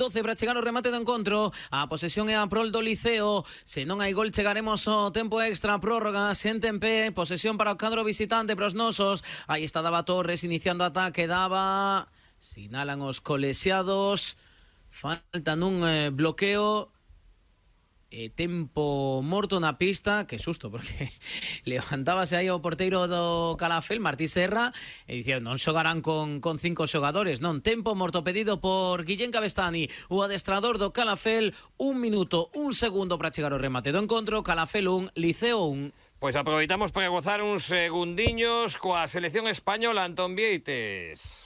12 para chegar ao remate do encontro. A posesión é a prol do Liceo. Se non hai gol chegaremos ao tempo extra, prórroga, xente en pé, posesión para o cadro visitante, para os nosos. Aí está Dava Torres iniciando ataque, Dava, sinalan os colexiados, faltan un bloqueo. Tempo morto na pista, que susto, porque levantábase aí o porteiro do Calafel, Martí Serra, e dicía, non xogarán con 5 xogadores, non, tempo morto pedido por Guillén Cabestani, o adestrador do Calafel. 1 minuto, 1 segundo para chegar ao remate do encontro. Calafel 1, Liceo 1. Pois aproveitamos para gozar uns segundiños coa selección española, Antón Vieites.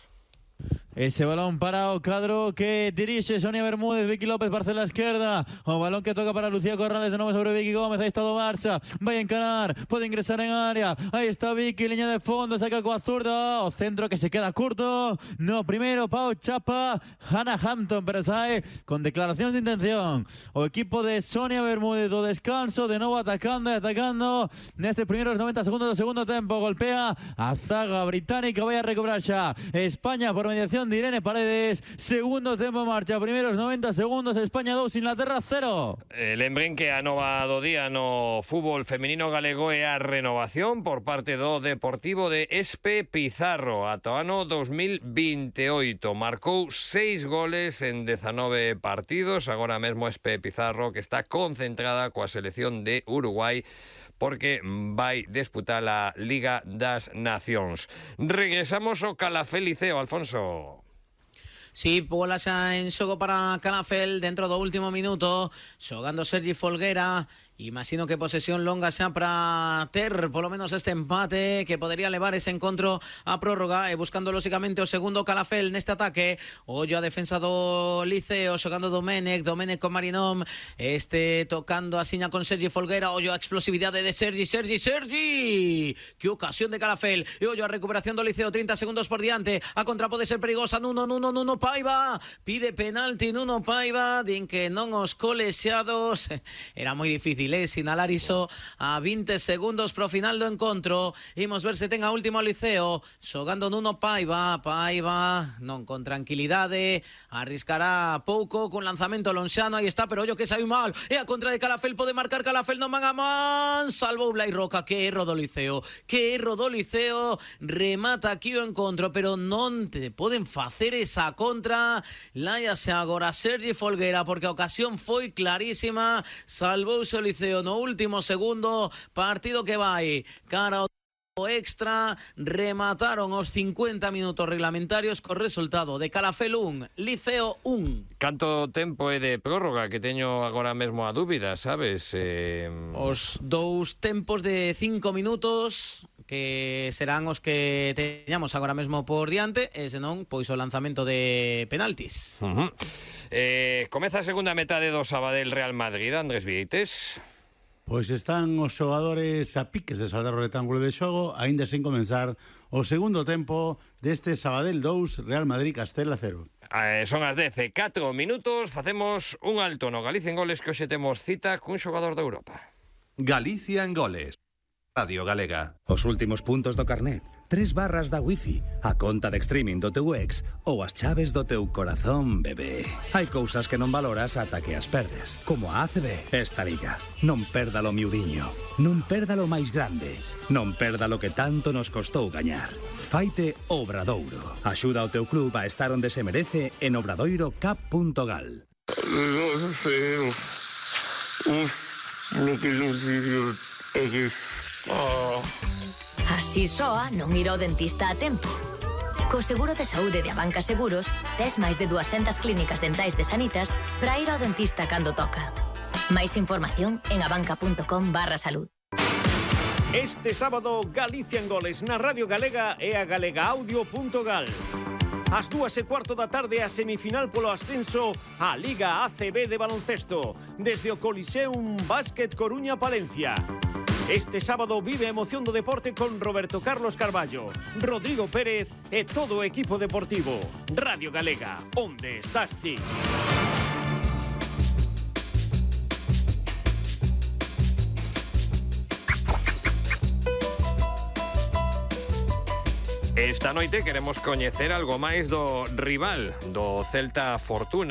Ese balón para o cadro que dirixe Sonia Bermúdez. Vicky López parcela a esquerda. O balón que toca para Lucía Corrales de novo sobre Vicky Gómez. Aí está do Barça. Vai encarar. Pode ingresar en área. Aí está Vicky, liña de fondo. Saca coa zurda. O centro que se queda curto. No, primeiro Pau Chapa. Hannah Hampton, pero sae con declaracións de intención. O equipo de Sonia Bermúdez do descanso. De novo atacando e atacando. Nestes primeiros 90 segundos do segundo tempo. Golpea a zaga británica. Vai a recobrar xa España por mediación de Irene Paredes. Segundo tempo en marcha, primeiros 90 segundos, España 2, Inglaterra 0. Lembren que a nova do día no fútbol feminino galego é a renovación por parte do Deportivo de Espe Pizarro ata o ano 2028. Marcou 6 goles en 19 partidos. Agora mesmo Espe Pizarro, que está concentrada coa selección de Uruguai, porque vai disputar a Liga das Nacións. Regresamos ao Calafel Liceo, Alfonso. Sí, bola xa en xogo para Calafel dentro do último minuto, xogando Sergi Folguera. Imagino que posesión longa xa para ter polo menos este empate que podería levar ese encontro a prórroga, e buscando lógicamente o segundo Calafel neste ataque. Ollo a defensa do Liceo, xogando Domenech con Marinom, tocando a siña con Sergi Folguera. Ollo a explosividade de Sergi, que ocasión de Calafel, e ollo a recuperación do Liceo, 30 segundos por diante, a contra pode ser perigosa. Nuno Paiva pide penalti. Nuno Paiva, din que non os colexiados. Era moi difícil sinalar iso a 20 segundos pro final do encontro. Imos ver se ten a última o Liceo, xogando Nuno Paiva, non con tranquilidade, arriscará pouco con lanzamento lonxano. Aí está, pero ollo que saiu mal, e a contra de Calafel, pode marcar Calafel, non man a man, salvou Blai Roca. Que erro do Liceo, remata aquí o encontro, pero non te poden facer esa contra. Láiase agora Sergi Folguera, porque a ocasión foi clarísima, salvouse o Liceo no último segundo. Partido que vai cara ao extra. Remataron os 50 minutos reglamentarios co resultado de Calafel 1, Liceo 1. Canto tempo é de prórroga, que teño agora mesmo a dúbida, sabes? Os dous tempos de 5 minutos que serán os que teñamos agora mesmo por diante, e senón, pois o lanzamento de penaltis. Comeza a segunda metade do Sabadell Real Madrid, Andrés Vieites. Pois están os xogadores a piques de saldar o rectángulo de xogo, aínda sen comenzar o segundo tempo deste Sabadell 2, Real Madrid Castela 0. Son as 10:04 minutos, facemos un alto no Galicia en Goles, que hoxe temos cita cun xogador de Europa. Galicia en Goles, Radio Galega. Os últimos puntos do carnet, 3 barras da wifi, a conta de streaming do teu ex ou as chaves do teu corazón, bebé. Hai cousas que non valoras ata que as perdes, como a ACB. Esta liga, non perdalo miudiño, non perdalo máis grande, non perdalo que tanto nos costou gañar. Faite Obradoiro. Axuda ao teu club a estar onde se merece en obradoirocap.gal. Así soa non ir ao dentista a tempo. Co seguro de saúde de Abanca Seguros, tes máis de 200 clínicas dentais de Sanitas para ir ao dentista cando toca. Máis información en abanca.com/salud. Este sábado, Galicia en Goles na Radio Galega e a galegaaudio.gal. Ás 2:15 da tarde, a semifinal polo ascenso á Liga ACB de baloncesto, desde o Coliseum Básquet Coruña Palencia. Este sábado vive a emoción do deporte con Roberto Carlos Carballo, Rodrigo Pérez e todo o equipo deportivo. Radio Galega, onde estás ti? Esta noite queremos coñecer algo máis do rival do Celta Fortuna.